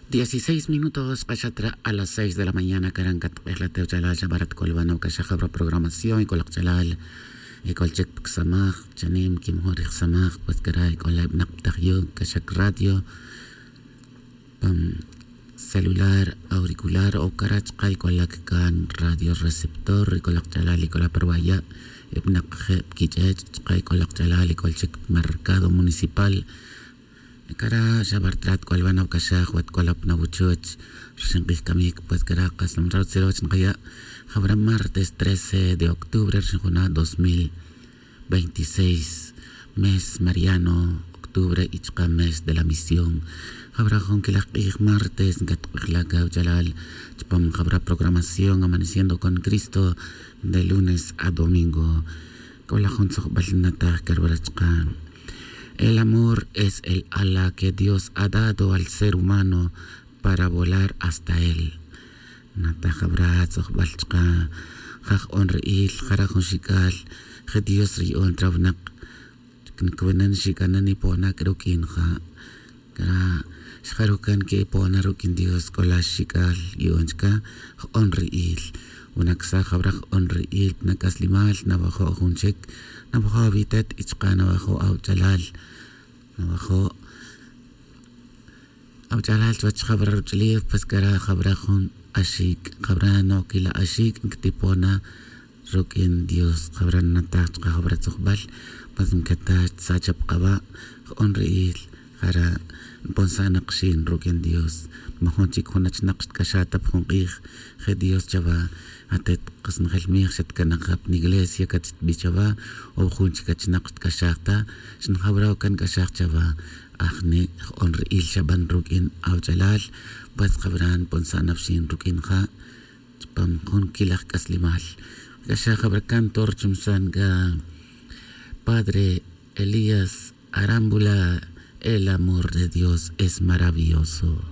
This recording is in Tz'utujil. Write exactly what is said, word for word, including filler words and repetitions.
Dieciséis minutos k'axat re' a las seis de la mañana. Caran catk'ej la tewchalal xa barat c'olbanoc caxaj jabra programación y c'olak ch'alal. Y c'ol chic pcsamaj chanim quimojun rijsamaj pues cara' y c'ola ibnak ptajyuc caxac radio pan celular auricular o cara' chka' y c'ola ccan radio receptor y c'olak ch'alal y c'ola parwaya' ibnak je' pquich'ech' chka' y c'olak ch'alal y c'ol chic mercado municipal. Cara' xa bartrat c'olbanoc caxaj wat c'ola pna wuchuch rxin k'ij camic pues cara' kas lom rawtzil wach nkaya'. Jabra martes trece de octubre rxin juna' dos mil veintiséis, mes mariano octubre y chka' mes de la misión. Jabra jun quilaj k'ij martes ncatk'ej la cawch'alal chpam jabra programación amaneciendo con cristo de lunes a domingo. C'ola jun tzojbal nnataj carwara chka'. El amor es el ala que dios ha dado al ser humano para volar hasta él. Nataj jabra tzojbal chka' ja j'on ri'il jara' jun xic'al je dios riya'on chra winak. Ncawinan xic'anan y pona c'a ruq'uin ja' c'a xjarucan que pona ruq'uin dios c'o la xic'al yu'on chca. J'on ri'il winacsaj jawra j'on ri'il pna c'aslimal nawajo' jun chic. Nawajo' awitet y chka' nawajo' awch'alal nawajo' awch'alal chuwech jawra ruch'ulef pues c'ara' jawra jun axic' jawra noquila axic' nctipona. Ruq'uin dios jawra nnataj chka jawra tzojbal. Pues ncata chsa' chapkawa' j'on ri'il jara' nponsa' nakxin ruq'uin dios. Majun chic jun achnak xtc'axaj ta pa jun k'ij je dios chawa. Atet kas njel mij xatcana' ka pa niglesia catxtbi chawa o jun chic achnak xtc'axaj ta. Xnjawra' can c'axaj chawa. Ajni' j'on ri'il xaban ruq'uin awch'alal. Pues jawra nponsa' napxin ruq'uin ja' chpam jun quilaj c'aslimal. C'axaj jawra cantor chumsan c'a padre elías arámbula. El amor de dios es maravilloso.